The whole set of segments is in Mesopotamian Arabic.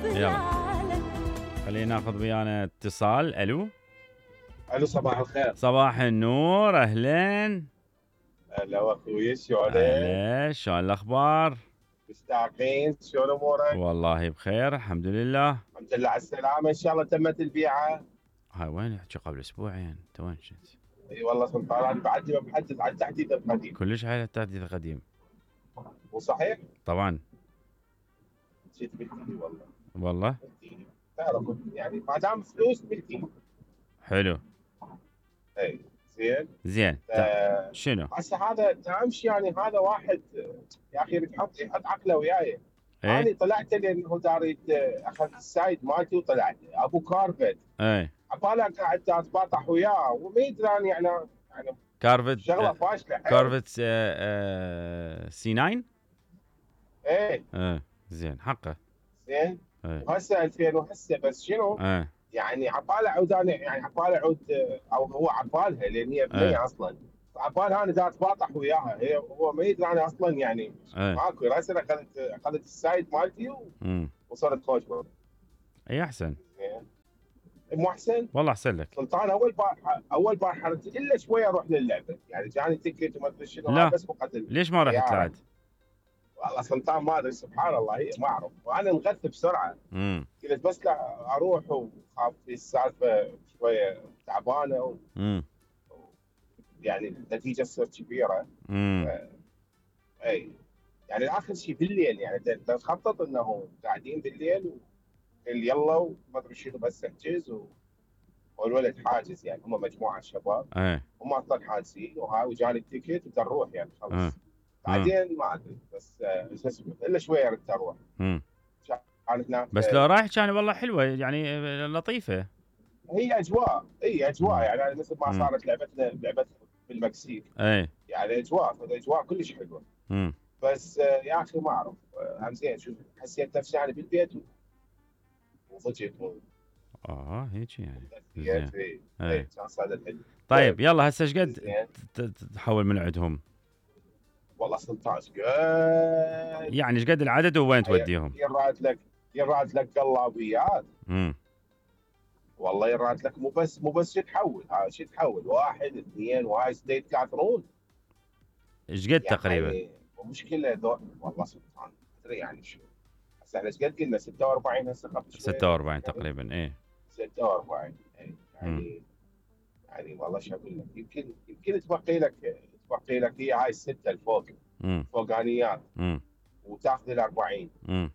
يلا خلينا ناخذ ويانا اتصال. الو صباح الخير. صباح النور، اهلين. هلا اخوي، شلونك؟ اهلا، شلون الاخبار؟ مستعقين، شلون امورك؟ والله بخير الحمد لله. الحمد لله على السلامه، ان شاء الله تمت البيعه. هاي وين احكي قبل اسبوعين، انت وين كنت؟ اي والله سلطان، انا بعدني ما محدد عن تحديث القديم. كلش على التحديث القديم. مو صحيح؟ طبعا. جيت ملكي والله تعرف يعني ما دام فلوس ملكي. حلو. اي زين. شنو؟ هسه هذا تمشي يعني، هذا واحد يا اخي يحط عقله وياي. ايه؟ انا طلعت لانه داريت اخذ السايد مالتي وطلعت ابو كارفت. ايه عبالك قاعد اتباطح وياه وما يدري يعني كارفت شغله فاشله. كارفت سي 9. ايه زين حقه. زين. ايه. وهسه 2000 وهسه بس شنو؟ ايه. يعني عباله عود، انا يعني عباله عود، او هو عبالها لان هي بنيه اصلا. عبالها انا دا اتباطح وياها، هو ما يدري انا اصلا يعني ماكو. راسا اخذت السايد مالتي وصرت خوش. اي احسن. مو احسن؟ والله احسن لك سلطان. اول بارحه الا شويه اروح للعبه، يعني جاني تكت وما ادري شنو. لا بس مقدم. ليش ما رحت بعد؟ والله سلطان ما ادري، سبحان الله، هي ما اعرف، وانا انغث بسرعه. قلت بس لا اروح، وخاف في السالفه شويه تعبانه يعني النتيجه تصير كبيره. اي يعني اخر شيء بالليل، يعني تخطط انه قاعدين بالليل يلا وما ادري شنو، بس احجز والولد حاجز، يعني هم مجموعه شباب. هم اصلا حاجزين وجاني التيكت وتروح يعني خلاص. بعدين ما ادري، بس شو اسمه الا شويه ردت اروح. بس لو رايح كان والله حلوه يعني لطيفه. هي اجواء. يعني مثل ما صارت لعبتنا بالمكسيك. يعني اجواء كلش حلوه. بس يا اخي ما اعرف، هم زين شوف حسيت نفسي يعني بالبيت وضجت هيك يعني. زين. كان صار حلو. طيب يلا هسه ايش قد تحول من عندهم؟ والله 16 قد يعني ايش قد العدد ووين توديهم؟ يراد لك قلابيات. والله يراد لك مو بس تحول، هذا شو تحول 1 2 وهاي ستيت كاثرون. ايش قد تقريبا؟ يعني مشكله والله سبحان ادري يعني شو. هسه احنا ايش قد قلنا 46 هسه قبل شوي 46 تقريبا. ايه 46. يعني والله شو اقول لك، يمكن تبقي لك هي هاي السته الفوق فوقانيات وتاخذ ال 40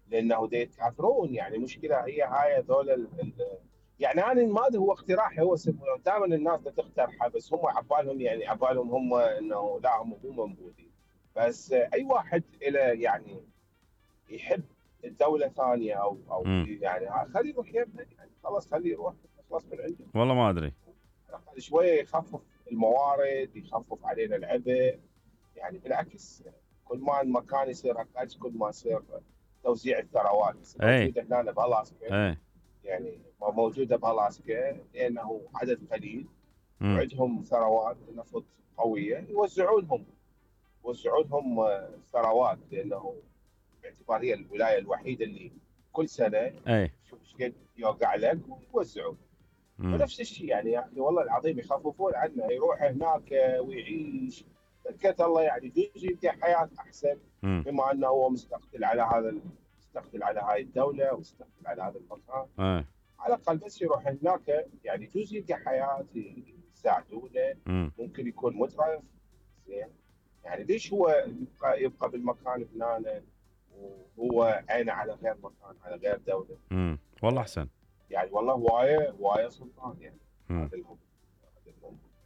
لانه يتكاثرون. يعني مشكله هي هاي هذول يعني انا ما ادري، هو اقتراحي، هو دائما الناس تقترحه، بس هم عبالهم هم انه لا هم مو منبوذين. بس اي واحد له يعني يحب الدوله ثانيه او يعني خليه يروح يمها، يعني خلاص خليه يروح خلاص من عنده. والله ما ادري، شويه يخفف الموارد، يخفف علينا العبء. يعني بالعكس، كل ما المكان يصير اقل كل ما يصير توزيع الثروات موجوده هنا بألاسكا. يعني موجوده بألاسكا لانه عدد قليل وعندهم ثروات نفط قويه، يوزعونهم ثروات، لانه باعتبار هي الولايه الوحيده اللي كل سنه شوف ايش قد يوقع لك ويوزعون. ونفس الشيء يعني يا اخي والله العظيم يخففون عنه، يروح هناك ويعيش بركة الله، يعني يجي يبدا حياه احسن، بما انه هو مستقبل على هاي الدوله ومستقبل على هذا المكان. على الاقل بس يروح هناك يعني يجوز يلقى حياه، يساعدونه، ممكن يكون مترف زين. يعني ليش هو يبقى بالمكان هنا وهو عينه على غير مكان، على غير دوله؟ والله احسن. يعني والله وايه سلطان يعني.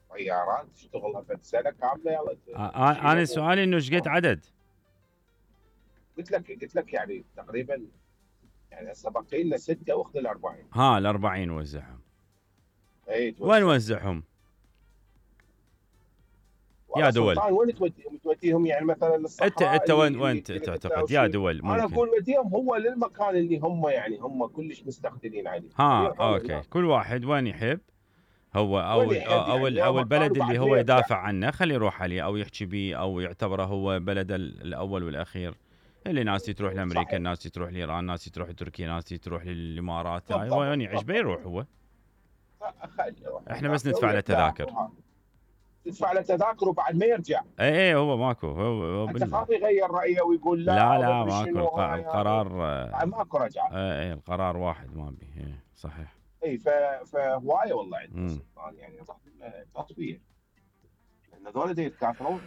طيارات تشتغلها في سنه كامله. يلا انا سؤالي انه ايش قد عدد؟ قلت لك يعني تقريبا، يعني هسه باقي لنا 6 واخذ ال 40. ال 40 وزعهم. اي وين وزعهم؟ يا دول وين توديهم يعني مثلا للصحراء؟ انت وين تعتقد يا دول ممكن؟ انا اقول وديهم هو للمكان اللي هم كلش مستقتلين عليه. اوكي كل واحد وين يحب هو او البلد اللي هو يدافع عنه خليه يروح عليه او يحكي بيه او يعتبره هو بلده الاول والاخير. اللي ناس تروح لامريكا، ناس تروح لايران، ناس تروح لتركيا، ناس تروح للامارات. هو يعني عجبه يروح هو. احنا بس ندفع له تذاكر. تدفع له تذاكر وبعد ما يرجع. اي هو ماكو. هو انت خاف يغير رايه ويقول لا. لا ماكو. القرار ماكو رجعه. اي القرار واحد ما بيه. صحيح. اي فهوايه والله عندنا سلطان يعني تصوير. لان هذول يتكاثرون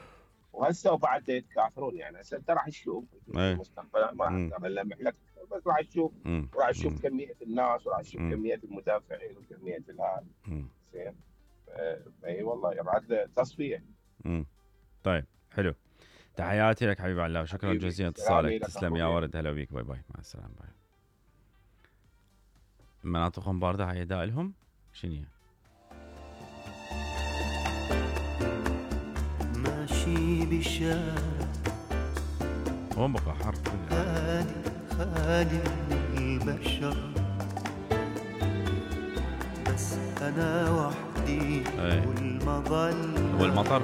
وهسه وبعد يتكاثرون يعني. هسه انت راح تشوف المستقبل ما راح نلمح لك بس راح تشوف وراح تشوف كميه الناس وراح تشوف كميه المدافعين وكميه الهاد. زين. اي والله يبعد له تصفيه. طيب حلو. تحياتي لك حبيب الله وشكرا جزيلا اتصالك. تسلم يا ورد. هلا بيك. باي باي. مع السلامه. باي. مناطقهم بارده هاي دائلهم شنو؟ ماشي بشارع هون بقى حر خالي من البشر بس انا وحدي والمطر